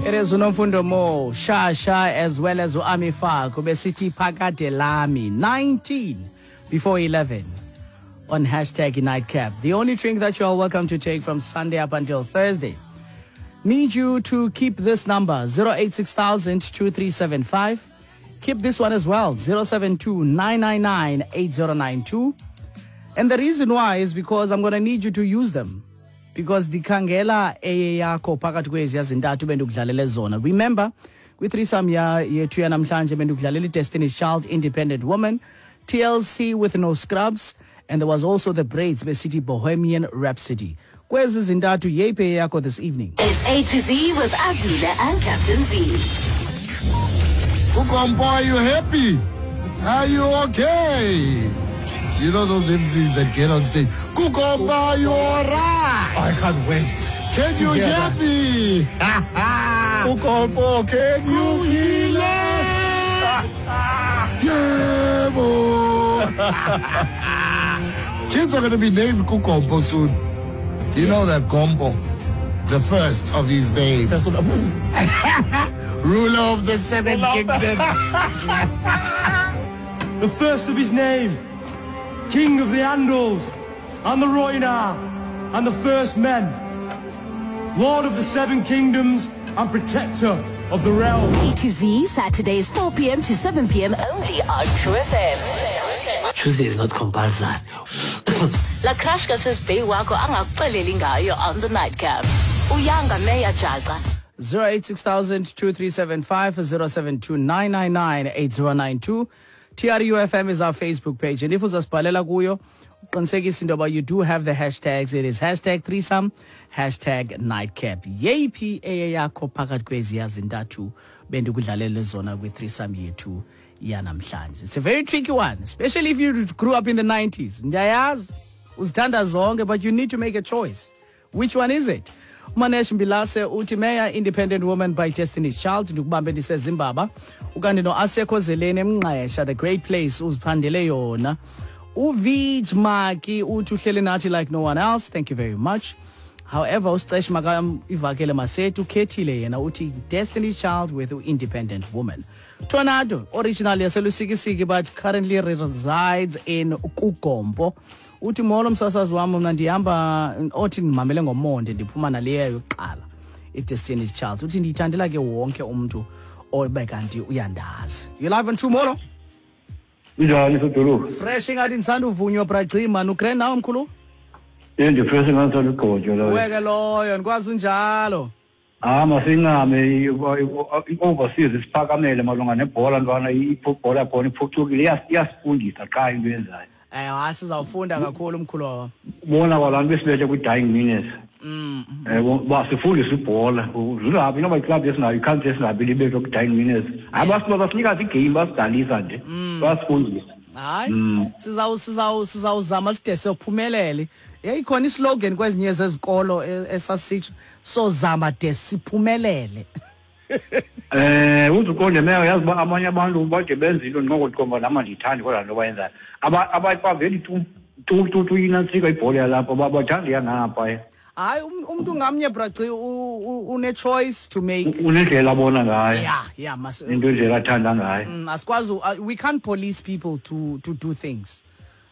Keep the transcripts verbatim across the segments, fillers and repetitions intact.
It is uNomfundo Mo, Shasha, as well as uAmi Faku, besithi Phakade Lami, nineteen before eleven on hashtag Nightcap. The only drink that you are welcome to take from Sunday up until Thursday. Need you to keep this number, zero eight six thousand two three seven five. Keep this one as well, zero seven two nine nine nine eight zero nine two. And the reason why is because I'm going to need you to use them. Because ndikhangela eyakho phakathi kweziya zintathu bendikudlalele zona. Remember, kwi-threesome ya yethu yanamhlanje bendikudlalela i-Destiny's Child, Independent Woman, T L C with No Scrubs, and there was also the Braids besithi Bohemian Rhapsody. Kwezi zintathu yeyiphi eyakho this evening? It's A to Z with Azile and Captain Z. Ukompo, are you happy? Are you okay? You know those M Cs that get on stage. Kukomba, are you alright? I can't wait. Can you hear me? Kukombo, can you hear? Yeah, boy. Kids are going to be named Kukombo soon. You know that Gombo, the first of his name. First of the Ruler of the seven kingdoms. The first of his name. King of the Andals and the Rhoynar and the First Men, Lord of the Seven Kingdoms and Protector of the Realm. A to Z, Saturdays four p m to seven p m only on True F M. Tuesday is not compulsory. La crush kasis bae wakho angakuxeleli ngayo on the Nightcap. Uyanga Meya Jaca. zero eight six thousand two three seven five zero seven two nine nine nine eight zero nine two. T R U F M is our Facebook page. And if uzasibhalela kuyo, uqinisekise into yoba you do have the hashtags. It is hashtag threesome, hashtag nightcap. Yeyiphi eyeyakho phakathi kweziya zintathu bendikudlalele zona kwi-threesome yethu yanamhlanje? It's a very tricky one, especially if you grew up in the nineties. Ndiyayazi, uzithanda zonke, but you need to make a choice. Which one is it? Manesh Mbilase uthi Meya, Independent Woman by Destiny's Child, ndikubambe ndiseZimbabwe. Ukanti noAsekho Zeleni eMngqesha, The Great Place, uziphandele yona. uVij Maki uthi uhleli nathi like no one else. Thank you very much. However, uSicesh Makam ivakele Masetu ukhethile yena uthi Destiny's Child with Independent Woman. Tornado, originally yaseLusikisiki but currently resides in Kugompo. Uthi molo msasazi wam, mna ndihamba othi ndimamele ngomonde ndiphuma naleyo yokuqala iDestiny's Child. Uthi ndiyithandela ke wonke umntu obe kanti uyandazi. You live on True Molo? Njani sodolo? Fresh ingathi ndisanda uvunywa bragcima nugrand nawe mkhulu? Ye ndifresh ingathi ugqotywa loyo. Weke loyo ndikwazi unjalo. Ah masingame i-overseas isiphakamele malunga nebhola ntwana ibhola khona iphucukile iyasifundisa qha into yenzayo. Eh hayi sizawufunda kakhulu mkhulu wam. Bona kwalantu besibethe kwi-dying minutes. Mm. Eh basifundisa ibhola. Zulaphi noba iclub esinayo i-country esinayo libethwe kwi-dying minutes. Hayi basinika igame basidalisa nje. Basifundisa. Hayi sizawu sizawu sizawuzama side siyophumelele. Yayikhona islogan kwezinye zezikolo esasitsho sozama de siphumelele. Eh uzuqonde meya yazi ba amanye abantu bade benza into ndingokuqomba nama ndiyithandi kodwa nto bayenzayo. Aba abayipaveli tu tu tu tu inantsika ibhola yalapha bathanda yangapha. Hayi umuntu ngamnye braci une choice to make. Unendlela abona ngayo. Yeah, yeah, mas into indlela athanda ngayo. Asikwazi, we can't police people to to do things.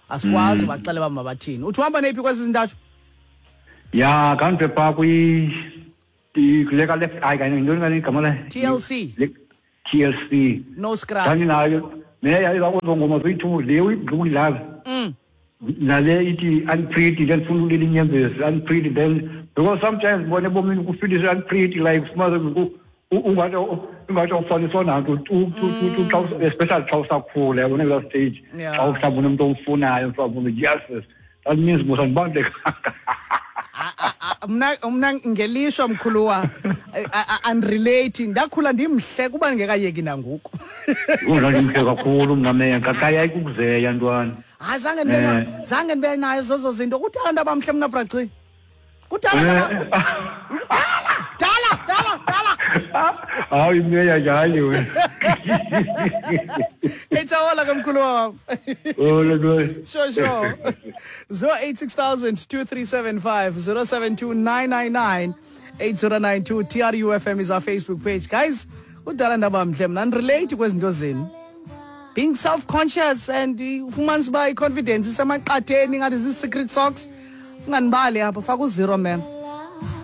Asikwazi baxele ba mabathini. Uthi uhamba nephi kwezi zintathu? Ya, kanti pha kwi kuleka left eye kanye intoni kanye igama la T L C. T L C. No Scrubs. Kanye nayo meya izakuzongoma zoyi-two le uyidlula. Mm. Nale ithi unpretty then funa ulila inyembezi unpretty then because sometimes bona ebomini kufeelisha unpretty like fumaze ungathi ungathi awufaniswa nanto tu tu tu xa especially xa usakhula yabona kulaa stage xa mhlawumbi unomntu omfunayo mhlawumbi yes that means musa ndibalulekanga. Mna mna ngelishwa mkhuluwa unrelating ndakhula ndimhle kuba ndingekayeki nangoku. Undandimhle kakhulu mna meya kakaya ikukuzeya ntwana. Hayi zange ndibe na zange ndibe nayo zozo zinto kuthanda abamhle mna braci. Kudala dala dala dala. Hayi meya njani wena. Etsawala ke mkhulu wam. Oh lo. Sure sure. zero eight six thousand two three seven five zero seven two nine nine nine eight zero nine two. T R U F M is our Facebook page. Guys, udala ndaba mhle mna ndirelate kwezinto zenu. Being self-conscious and ufumanisa uba i-confidence isemaqatheni, ingathi zii-secret socks. Unganibali apha, faka u-zero, ma'am.